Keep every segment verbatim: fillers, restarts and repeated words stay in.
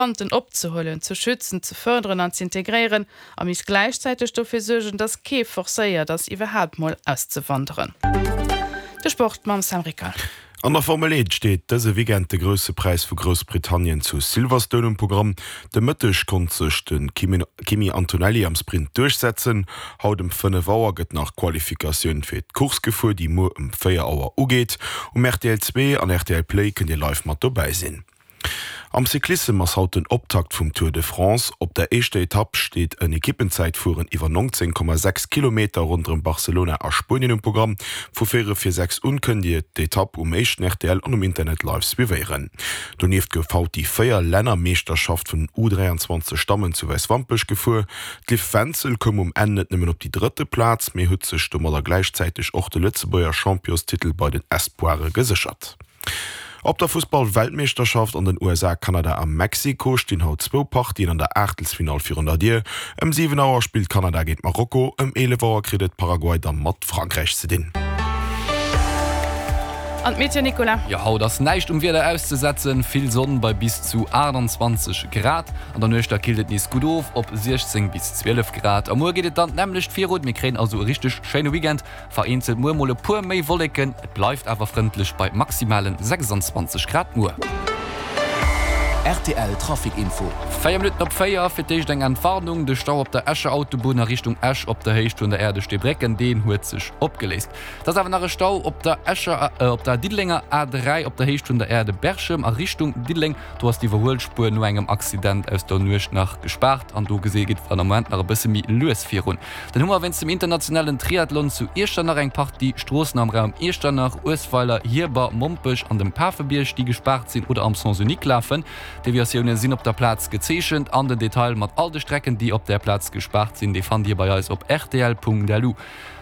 Migranten opzehuelen, ze schützen, ze fërderen an z'integréieren a misst gläichzäiteg dofir suergen, datt kee forcéiert ass, iwwerhaapt mol auszewanderen. De Sport mam Sam Rickard. An der Formel Eent steet dëse Weekend de Grousse Präis vu Groussbritannien zu Silverstone um Programm. De Mëtteg konnt sech de Kimi Antonelli am Sprint duerchsetzen. Haut ëm fënnef Auer gëtt nach d'Qualifikatioun fir d'Course gefuer, déi muer ëm véier Auer ugeet. Um rtl Zwee an rtl Play kënnt Dir live mat dobäi sinn. Am Cyclissem ass haut den Optakt vum Tour de France. Op der éischter Etapp steet en Ekippenzäitfueren iwwer neunzéng Komma sechs Kilometer ronderëm Barcelona a Spuenien um Programm. Vu véierel vir sechs un kënnt Dir d'Etapp um éischten rtl an um Internet live suivéieren. Donieft gouf haut déi véier Lännermeeschterschaft vun den U dräianzwanzeg Dammen zu Wäiswampech gefuer. D'Liv Wenzel koum um Enn net nëmmen op déi drëtte Plaz, mee huet sech domadder gläichzäiteg och de Lëtzebuerger Championstitel bei den Espoire geséchert. Op der Fussball-Weltmeeschterschaft an den U S A, Kanada a Mexiko stinn haut zwou Partien an der Aachtelsfinall virun der Dier. Ëm siwen Auer spillt Kanada géint Marokko, ëm eelef Auer kritt et Paraguay da mat Frankräich ze dinn. An d'Meteo, Nicolas? Jo, haut ass näischt um Wieder auszesetzen, vill Sonn bei bis zu aachtanzwanzeg Grad. An der Nuecht da killt et nees gutt of op siechzéng bis zwielef Grad. A muer geet et dann d'nämmlecht virun, mir kréien also e richteg schéine Weekend. Vereenzelt muer mol e puer méi Wolleken, et bleift awer frëndlech bei maximalen sechsanzwanzeg Grad muer. Rtl Trafic Info. Véier Minutten op véier, fir d'éischt eng Entwarnung, De Stau op der Escher Autobunn a Richtung Esch op der Héicht vun der Äerdeschteebrécken, deen huet sech opgeléist. Et ass awer nach e Stau op der Escher, op der Diddelenger A dräi op der Héicht vun der Aire de Berchem a Richtung Diddeleng. Do ass d'Iwwerhuelspuer no engem Accident aus der Nuecht nach gespaart an do gesi geet et am Moment nach e bësse méi lues virun. Dann hu mer wéinst dem internationalen Triathlon zu Iechternach eng Partie Stroossen am Raum Iechternach, Uesweiler, Hierber, Mompech an dem Pafebierg, déi gespaart sinn oder am Sens unique lafen. D'Deviatioune sinn op der Plaz gezeechent an den Detail mat all de Strecken, déi op där Plaz gespaart sinn, dee fannt Dir bei eis op rtl.lu.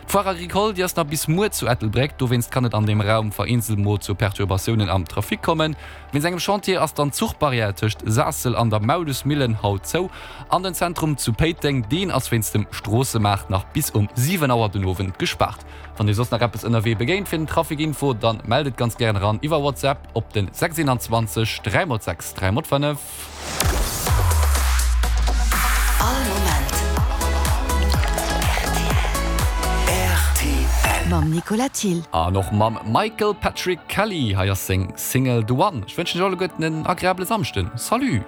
D'Foire Agricole, déi ass nach bis muer zu Ettelbréck, dowéinst kann et an deem Raum vereenzelt mol zu Perturbatiounen am Trafic kommen. Wéinst engem Chantier ass dann d'Zuchbarrière tëscht Saassel an der Maulusmillen haut zou. An den Zentrum zu Péiteng, deen ass wéinst dem Stroossemaart nach bis um siwen Auer den Owend gespaart. Wann dir soss nach eppes ënnerwee begéint fir den Trafic Info, dann mellt et ganz gären eran iwwer WhatsApp op den sechs eenanzwanzeg dräi mol sechs dräi mol fënnef. All Moment rtl. Mam Nicolas Thill. An och mam Michael Patrick Kelly, hei ass seng Single The One. Ech wënschen iech alleguerten en agreabele Samschden. Salut!